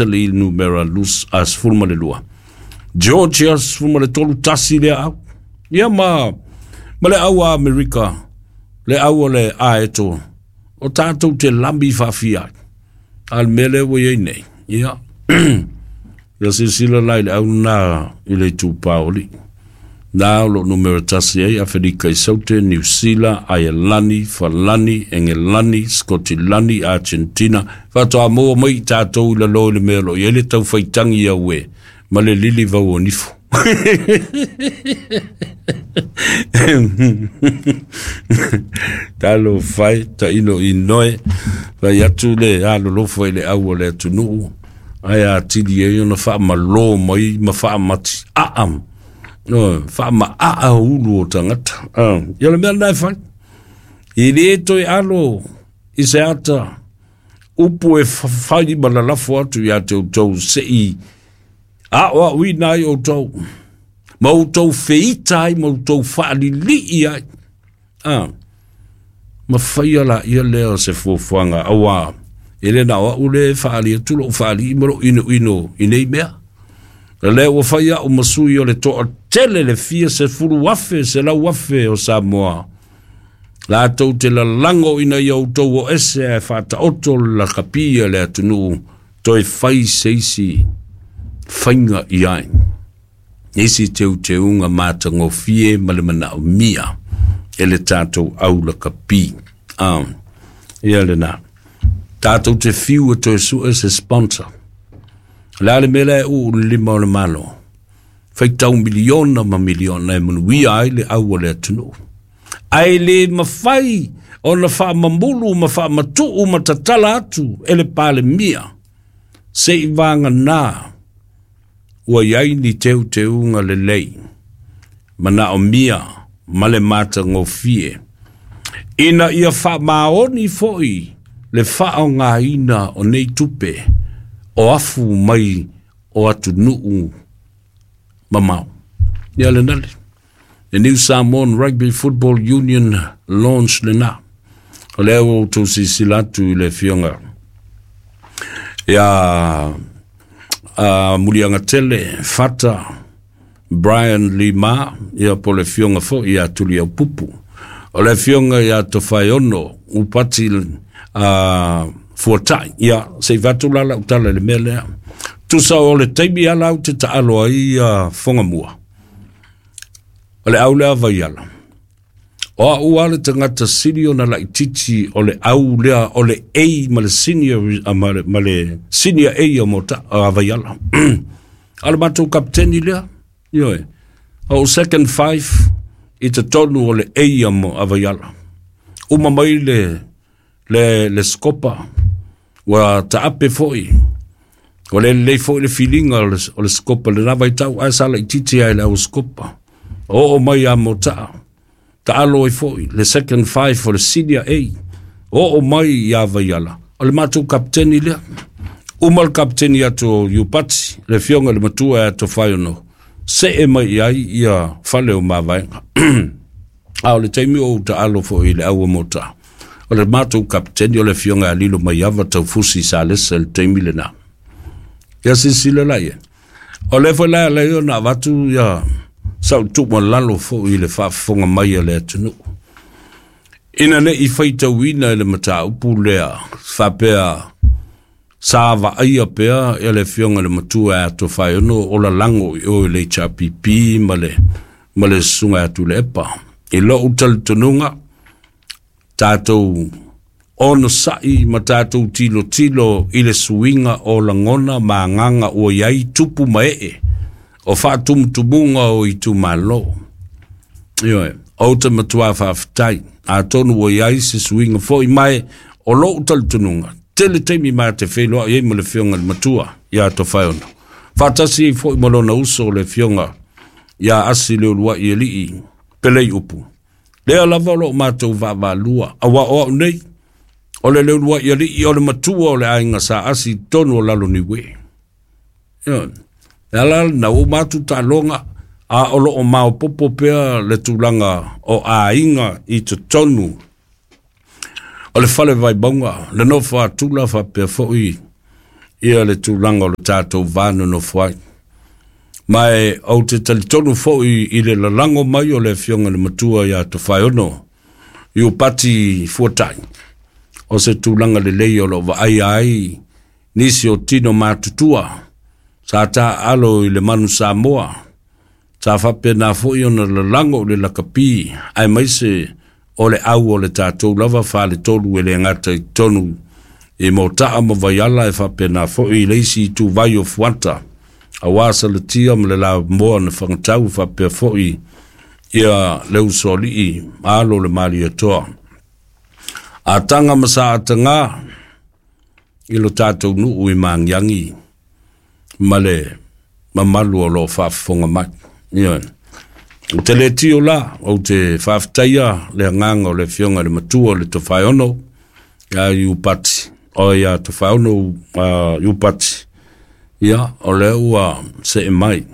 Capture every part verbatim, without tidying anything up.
Le numera lus a sefulu ma le lua. Georgia sefulu ma le tolu tasi le au. Ia ma ma le au a Amerika, le au o le aeto, o tātou te lambi faafia ai. A le mea lea ua i ai nei, ia, ia silasila la i le au lena i le itupa o alii. Na o lo o numera tasi ai Aferika i Saute, Niu Sila, Aialani, Falani, Engelani, Skotilani, Argentina, faatoa maua mai i tatou i lalo i le mea o lo o i ai le taufaitagi au e ma le lili vau o nifo. Talofa e, tailo i noe, fai atu le alolofa i le au o le atunuu, ae atili ai ona faamalō mai ma faamati aa, no, faamaaa ulu o tagata. Ah, ia le mea lena e fai. E le toe alo i se ata upu e fai ma lalafo atu ia te outou sei aoaoina ai outou, ma outou feita ai, ma outou faalilii ai. Ah, ma faia la ia lea o se fuafuaga auā e le na o au le faali atu lou faalii ma lou inoino i nei mea. O lea ua fai au ma sui o le toatele le fia sefulu afe selau afe o Samoa. Latou te lalago ina ia outou o ese ae faataoto le lakapi a le atunuu toe fai se isi faiga i ai. Isi teuteuga matagofie ma le manaomia e le tatou au lakapi. Ah, ia lena. Tatou te fiu e toe sue se sponsor. O le a le mea lea e uu le lima o le Malo? Faitau miliona ma miliona e manuia ai le au o le atunuu. Ae le mafai ona faamamulu ma faamatuu ma tatala atu e le Palemia se i vagana ua i ai ni teuteuga lelei, manaomia ma le matagofie, ina ia faamaoni foi le faaaogaina o nei tupe o afu mai o atunuu mamao. Ia lena le The New Samoan Rugby Football Union launch lena. O lea ua outou silasila atu i le afioga ia uh, Muliagatele Fata Brian Lima, ia po le afioga foi ia Tuliaupupu. O le afioga ia Tofaeono Upati uh, Fuatai, ia se i fatu la lau tala i le mea lea. Tusa o le taimi ala au te taalo ai ia Fogamua. O le au lea Vaiala. O au a le tagata sili ona laititi o le au lea o le A ma le senior, ma le, ma le senior A o Mota, a Vaiala. A le matou kapiteni lea, ioe. O second five i totonu o le A a, mo, a Vaiala. Uma mai le, le, le skopa, ua taape foi. O le lelei foi le filiga o le, o le skopa lena vaitau, ae sa laititi ai le au skopa. Oo mai a Motaa, taalo ai foi le second five o le senior A. Oo mai ia Vaiala, o le matou kapiteni lea. Uma le kapiteni atu o Iupati, le afioga i le matua ia Tofaeono, see mai i ai ia fale o Mavaega. A o le taimi o ou taalo foi i le au o Motaa, o le matou kapiteni o le afioga ia Lilo Maiava Taufusi Salesa i le taimi lena. Ia silasila la i ai. O lea foi la e ala ai ona avatu ia sau tuualalo foi i le faafofoga mai a le atunuu. Ina ne i faitauina i le mataupu lea faapea sa vaaia pea e le afioga i le matua ia Tofaeono o lalago i o i le H R P P ma le, ma le susuga ia Tuilaepa. I lou talitonuga, tatou onosai ma tatou tilotilo i le suiga o lagona ma agaga ua i ai tupu ma ee o faatumutumuga o itumalo. Ioe, ou te matua faafetai, atonu ua i ai se suiga foi mai o lou talitonuga, tele taimi ma te feiloai ai ma le afioga i le matua ia Tofaeono. Faatasi ai foi ma lona uso o le afioga ia Asi Leuluai Alii Pelei Upu. Lea lava o loo matou vaavaalua, auā o au nei, o le Leuluai Alii o le matua o le aiga sa Asi i totonu o Laloniue. Ioe, e ala lena ua uma atu taaloga, a o loo maopopo pea le tulaga o aiga i totonu o le fale Vaimauga, le nofo a Tula faapea foi Ia le tulaga o le tatou va nonofo ai. Ma e ou te talitonu foi i le lalago mai o le afioga i le matua ia Tofaeono Iupati Fuatai, o se tulaga lelei o loo vaaia ai nisi o tino matutua sa taaalo i le Manu Samoa, sa faapena foi ona lalago i le lakapi aemaise o le au o le tatou lava faletolu e le gata i totonu i Motaa ma Vaiala, e faapena foi i le isi ituvai o Fuata aua Salatia ma le Lamoa na Fagatau, faapea foi ia le Usoalii ma alo o le Malietoa. Ataga ma saataga i lo tatou nuu i Magiagi ma le mamalu o loo faafofoga mai. Ioe. Ou te le tio la, ou te faafetaia le agaga o le afioga i le matua o le Tofaeono ia Iupati, o ia Tofaeono uh, Iupati. Ia, o lea ua see mai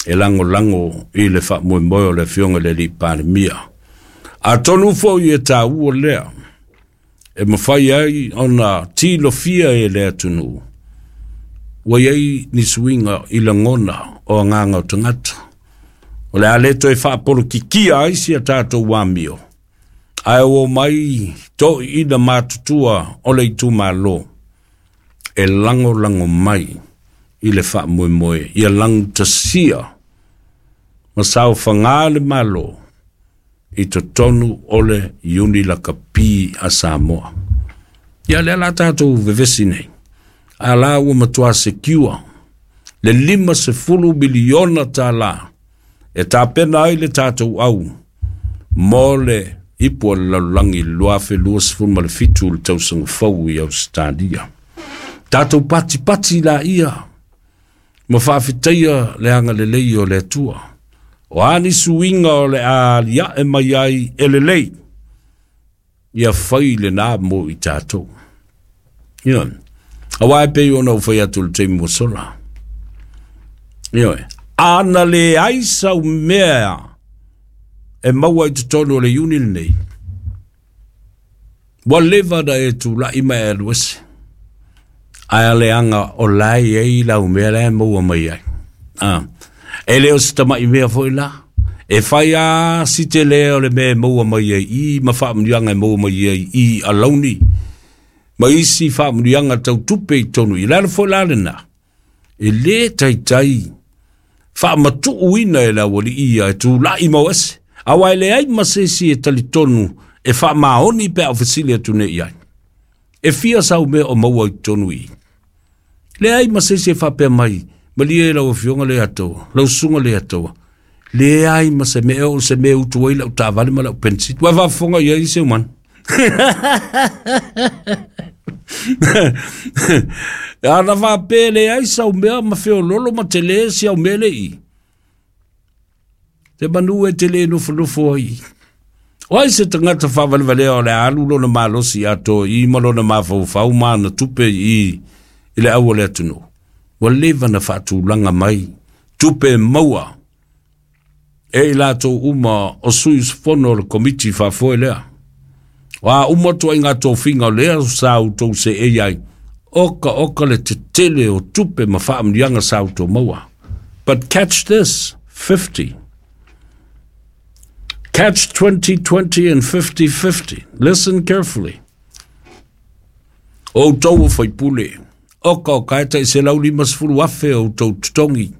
e lagolago i le faamoemoe o le afioga i le alii Palemia. Atonu foi e taua lea e mafai ai ona tilofia e le atunuu ua i ai ni suiga i lagona o agaga o tagata. O le a le toe faapolokikia ai si a tatou amio, ae ua mai toiina matutua o le itumalo e lagolago mai i le faamoemoe ia lagutasia ma saofaga le Malo i totonu o le Iuni Lakapi a Samoa. Ia lea la tatou vevesi nei, a la ua matua secure le lima sefulu miliona tala e tapena ai le tatou au mo le ipu o le lalolagi lua afe luasefulu ma le fitu le tausaga fou i Ausetalia. Tatou patipati laia ma faafetaia le agalelei o le Atua. O a ni suiga o le aliae mai ai e lelei, ia fai lena mo i tatou. Ioe. Aua e pei ona ou fai atu i le taimi ua sola. Ioe. Ana leai sau mea e maua i totonu o le Iuni lenei, ua leva ona e tulai ma e alu ese. Ae a leaga o la e i ai lau mea la e maua mai ai. Ah. E le o se tamai mea foi la. E fai a si tele o le mea e maua mai ai i ma faamanuiaga e maua mai ai i alauni ma isi faamanuiaga tau tupe i tonu i lalo foi la lena. E le taitai faamatuuina e le aualii ia e tulai mau ese. Aua e leai ma se isi e talitonu e faamaoni pe a o fesili atu nei i ai. E fia sau mea o maua i totonu i. Leai ma se isi e faapea mai, malie lau afioga le atoa, lau susuga le atoa. Leai ma se mea o se mea utu ai lau taavale ma lau pensili. Ua faafofoga i ai se umana. Ana faapea leai sau mea ma feololo ma tele si au mea le i. Te manu e te le nofonofo ai. O ai se tagata faavalevalea o le alu lona malosi atoa i ma lona mafaufau ma ana tupe i i le au o le atunuu. Ua leva na faatulaga mai tupe e maua e i latou uma o sui usufono o le komiti faafoe lea. O a uma ituaiga tofiga o lea sa outou seei ai, oka oka le tetele o tupe ma faamanuiaga sa outou maua. But catch this, fifty. Catch twenty twenty and fifty fifty. Listen carefully. O outou o faipule, oka oka e tai selau limasefulu afe o outou totogi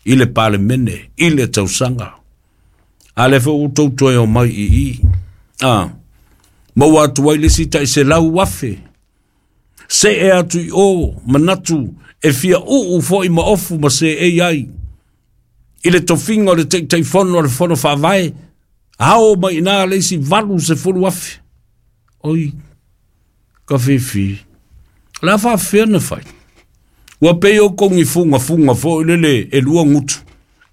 i le palemene, i le tausaga. A le foi outou toe o mai i i. Ah, maua atu ai le isi tai selau afe. Se e atu i o, manatu, e fia uu foi ma ofu ma se e ai. I le tofiga o le Taitaifono o le Fono Faavae, ao mai ina le isi valu sefulu afe. Oi, ka fifi. La faafefea na fai. Ua pei o kongi funga funga foi lele e lua ngutu.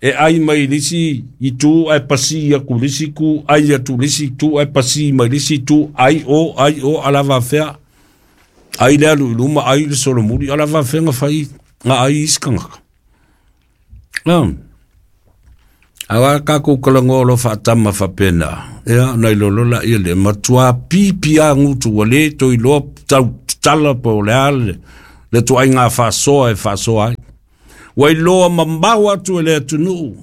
E ai mai le isi itu ae pasi atu le isi itu, ai atu le isi itu ae pasi mai le isi itu, ai o, ai o, ala faafefea. Ai le alu i luma, ai le solomuli, ala faafefea nga fai, nga ai isi kangaka. Um. Awa kākou kalagoa o lo faatama faapena. Ia, nai lolo la ia le matua pipi a ngutu ua le toi loa tau tala po o le a le, Le tuaiga faasoa e faasoa ai. Ua iloa mamao atu e le atunuu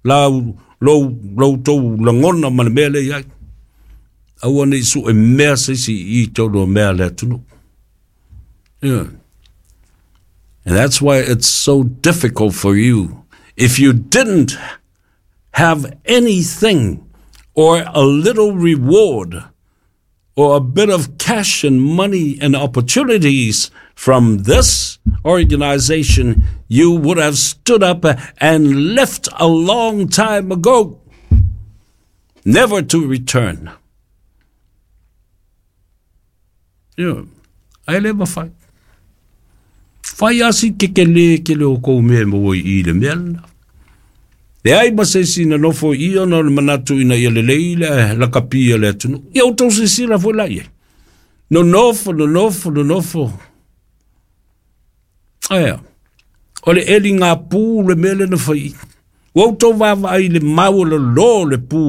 lau lou loutou lagona ma le mea lea i ai. Aua nei su'e mea se isi i tolu o mea le atunuu. Yeah. And that's why it's so difficult for you. If you didn't have anything or a little reward or a bit of cash and money and opportunities from this organization, you would have stood up and left a long time ago, never to return. Yeah. Ai le mafai. Fai asi ke ke le ke le o kou mea mo i le mea lena. Le ai ma se isi na nofo i ona o le manatu ina ia lelei le lakapi a le atunuu. Ia outou silasila foi la i ai. Nonofo, nonofo, nonofo. Aia, o le eli ngā pū le mea lena fai i. Ua outou vaavaai i le maualalo o le pū.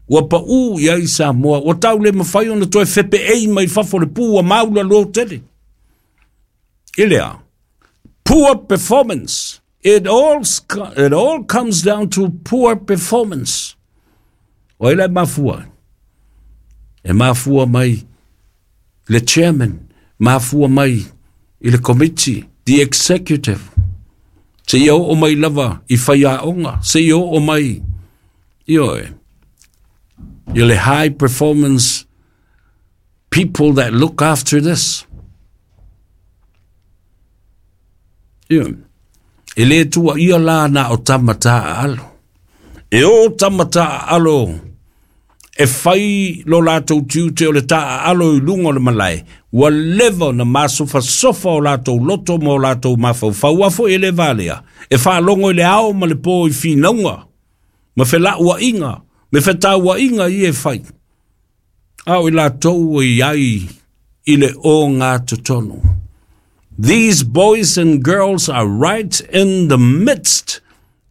Ua paʻū i ai Samoa. Ua tau le mafai ona toe fepeei mai fafo le pū ua maulalo tele. I lea, poor performance. It all, it all comes down to poor performance. O ai la e mafua? E mafua mai le chairman, mafua mai i le committee, the executive. Seia oo mai lava i faiaoga, seia oo mai, ioe, i le high performance people that look after this. Ioe. E le tuuaia la na o tama taaalo. E o tama taaalo e fai lo latou tiute o le taaalo i luga o le malae, ua leva ona masofasofa o latou loto ma o latou mafaufau. Ua foi e le valea, e faalogo i le ao ma le po i finauga, ma felauaiga, me fetauaiga ia e fai. A o i latou e i ai i le ogatotonu. These boys and girls are right in the midst,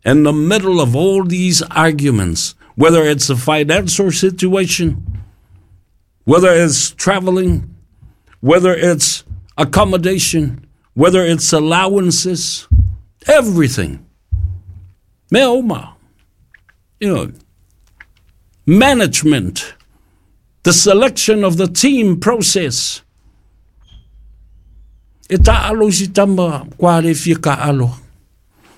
in the middle of all these arguments, whether it's a financial situation, whether it's traveling, whether it's accommodation, whether it's allowances, everything. Mea uma. You know, management, the selection of the team process. E taalo i si tama kua le fia kaalo.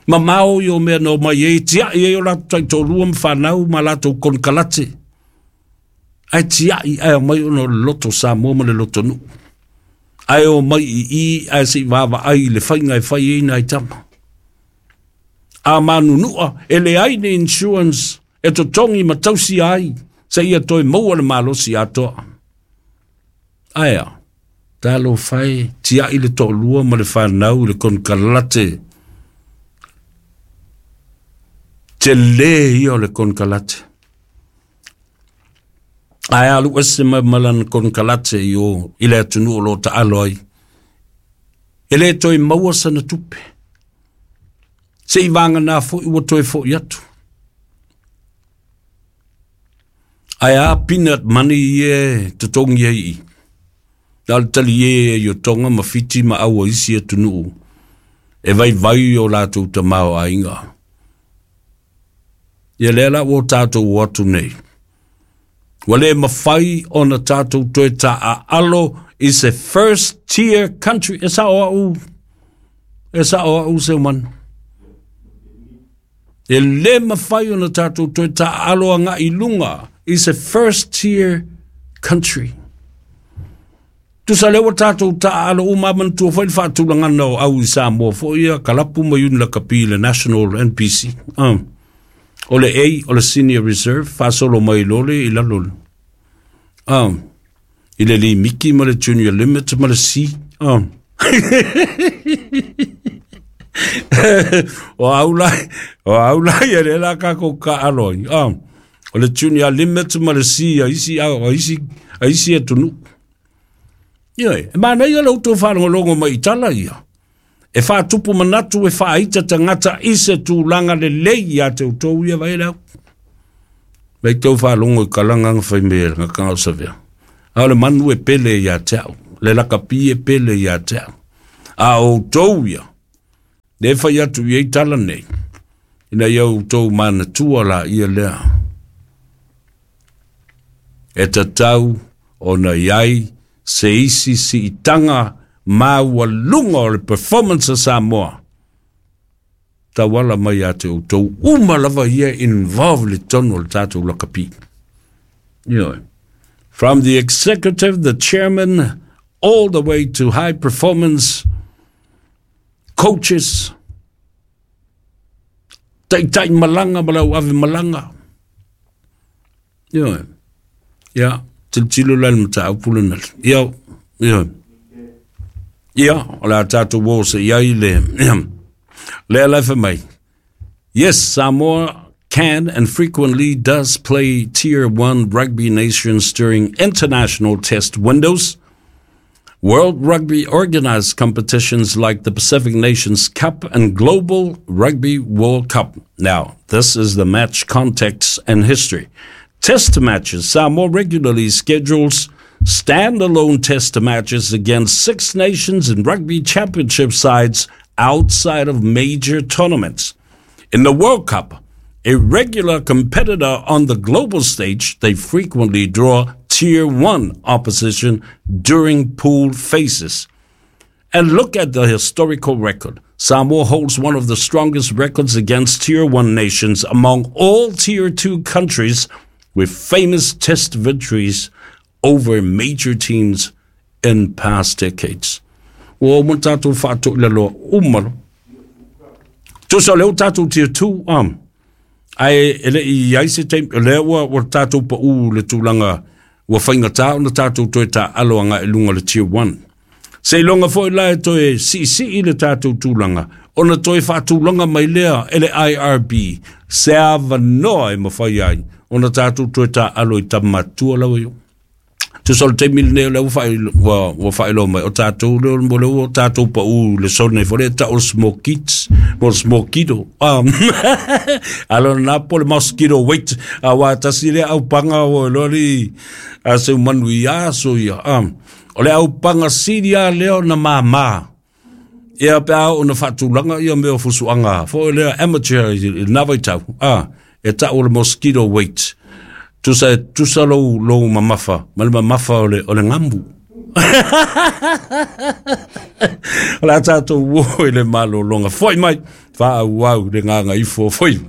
Mamao i o mea na omai ai, tiai ai o latou taitoalua ma fanau ma latou konekarate. Ae tiai ae omai ona o le loto Samoa ma le loto nuu. Ae omai i i ae se i vaavaai i le faiga e fai ai nai tama. A manunua, e leai ni insurance e totogi ma tausia ai seia toe maua le malosi atoa. Ae a? Talofa e, tiai le toalua ma le fanau i le konekarate. Tele ia o le konekarate. Ae alu ese mai ma lana konekarate i o i le atunuu o lo o taalo ai. E le toe maua sana tupe. Se i vagana foi ua toe foi atu. Ae a peanut money ia e totogi ai i. Na o le taliē ai o Tonga ma Fiti ma aua isi atunuu e vaivai o latou tamaoaiga. Ia lea la ua tatou o atu nei. Ua le mafai ona tatou toe taaalo i se first tier country. E sao au, e sao au Seumanu. E le mafai ona tatou toe taaalo agai i luga i se first tier country. Tusa lea ua tatou taaalo uma manatua foi le faatulagana o au i Samoa foi ia kalapu ma iuni lakapi i le National N P C. Um, o le A o le Senior Reserve faasolo mai loa le i lalo um, i le limiki ma le Junior Limit ma le C. Um. O au la, o au la ia le la kākou kaalo ai. Um, o le Junior Limit ma le C a isi, a isi, a isi atunuu. Ia e manaia le outou faalogologo mai i tala ia. E faatupu manatu e faaita tagata i se tulaga lelei ia te outou ia vai lau. Vai tau faalogo i kalanga nga fai mea nga o savea. A o le manu e pele ia te au. Le lakapi e pele ia te au. A outou ia, le fai atu i ei tala nei, ina ia outou manatua la ia lea. E tatau ona iai se isi siitaga maualuga o le performance a Samoa tauala mai ia te outou uma lava ia involve le tonu o le tatou lakapi. Ioe. From the executive, the chairman, all the way to high performance coaches, taitai malaga ma lau ave malaga. Ioe. Ia, tilotilo la i le mataupu lena. Ia, ioe. Ia, o le a tatou o se i ai le lea la e fai mai. Yes, Samoa can and frequently does play Tier one rugby nations during international test windows. World Rugby organized competitions like the Pacific Nations Cup and Global Rugby World Cup. Now, this is the match context and history. Test matches. Samoa regularly schedules standalone test matches against Six Nations and Rugby Championship sides outside of major tournaments. In the World Cup, a regular competitor on the global stage, they frequently draw Tier one opposition during pool phases. And look at the historical record. Samoa holds one of the strongest records against Tier one nations among all Tier two countries, with famous test victories over major teams in past decades. Ua uma tatou faatoʻi laloa uma lo. Tusa o lea ua tatou Tier two, um, ae e leʻi i ai se taimi, o lea ua, ua tatou paʻū le tulaga ua faigata ona tatou toe taaalo agaʻi luga o le Tier one. Seiloga foi la e toe siisii le tatou tulaga, ona toe faatulaga mai lea e le I R B se avanoa e mafai ai ona tatou toe taaalo i tama matutua lava io. Tusa o le taimi lenei o lea ua faailoa ua, ua faailoa mai o tatou lea mo lea ua tatou paʻū le zone foi lea e tau o le smokits mo le smokito um, alo na po le mosquito wait aua tasi lea aupaga ua iloa li a seu manu i aso ia um, o le aupaga sili a lea ona māmā ia pe a oo ona faatulaga ia mea o fusuaga foi lea amateur i lena vaitau a e tau o le mosquito wait. Tusa e tusa lou, lou mamafa ma le mamafa o le, o le gamu. O le a tatou o i le malologa. Foi mai, faaauau le gagaifo o faiva.